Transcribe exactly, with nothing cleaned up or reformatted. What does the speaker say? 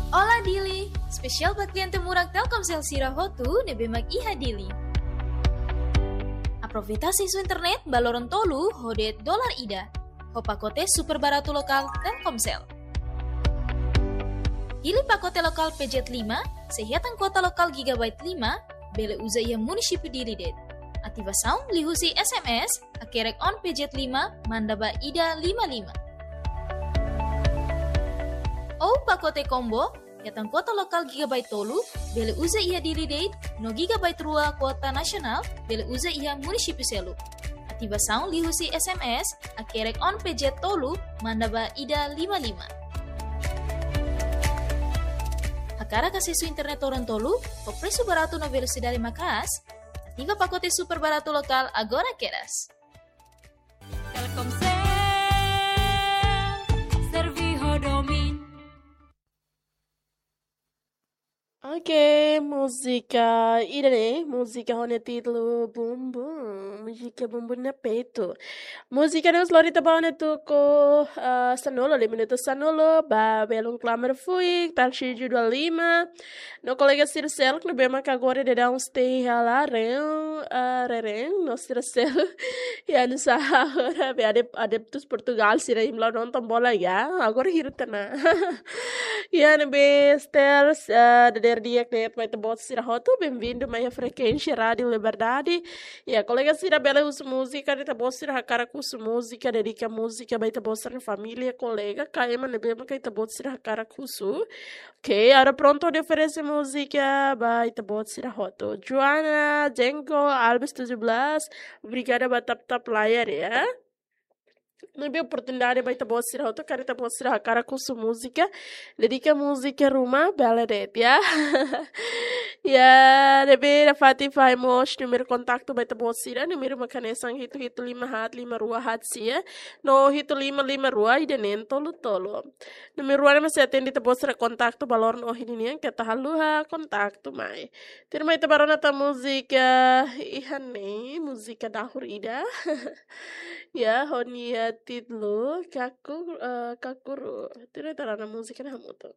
Olá Dili, espesiál ba kliente murak Telkomsel sira hotu ne'ebé mak iha Dili. Aproveita asesu internet ba loron tolu ho de'it dolar ida, ho pakote super baratu lokál Telkomsel. Hili pakote lokál P Z lima, sei hetan kuota lokál gigabyte lima, bele uza iha munisípiu Dili de'it. Ativasaun liuhusi S M S, hakerek on P Z lima, manda ba ida lima lima. Ou pakote combo, hetan kuota lokál gigabyte tolu, bele uza iha Dili de'it, no gigabyte rua kuota nasionál, bele uza iha munisípiu seluk. Ativasaun liuhusi S M S, hakerek on P Z tolu, manda ba ida lima lima. Hakarak asesu internet loron tolu, ho presu baratu no velosidade maka'as, ativa pakote super baratu lokál agora kedas. Telkomsel, serve ho domin. Oke, múzika ida-ne'e, múzika ho nia títulu Bumbum, múzika Bumbum no Peito. Múzika ne'e lori ita ba ona tuku, ah, sanulu, lima minutu sanulu, ba belun klamar fuik, Tarcísio Dua Lima. No kolega sira seluk ne'ebé maka agora daudaun stay halaren, ah, reren, no sira seluk. Ya, no sa agora, be adep-, adeptus Portugal sira imi la nonton bola ya, agora hirta na. Ya, ne'ebé Esther, ah, dadeer di'ak de'it ba ita-boot sira hotu, bem-vindo mai iha frekuénsia Rádio Liberdade. Ya, kolega sira bele husu múzika, ita-boot sira hakarak husu múzika, dedika múzika ba ita-boot sira família, kolega, ka ema ne'ebé maka ita-boot sira hakarak husu. Oke, agora prontu hodi oferese múzika ba ita-boot sira hotu. Joana Jengo Alves tujuh belas, obrigada ba tap-tap layar ya. Ne'ebé oportunidade ba ita-boot sira hotu, karik ita-boot sira hakarak husu múzika, dedika múzika ruma, bele de'it ya. Ya, ne'ebé nafatin fahe mós númeru kontaktu ba ita-boot sira, númeru mak hanesan hitu hitu lima haat lima rua haat sia, no hitu lima lima rua ida neen tolu tolu. Númeru rua ne'e mak sei atende ita-boot sira kontaktu ba loron ohin nian, keta haluha kontaktu mai. Tuirmai ita bá rona tan múzika iha ne'e, múzika dahur ida. Ya, ho nia títulu Kaku-, eh, Kakuru. Tuirmai ita rona múzika ne'e hamutuk.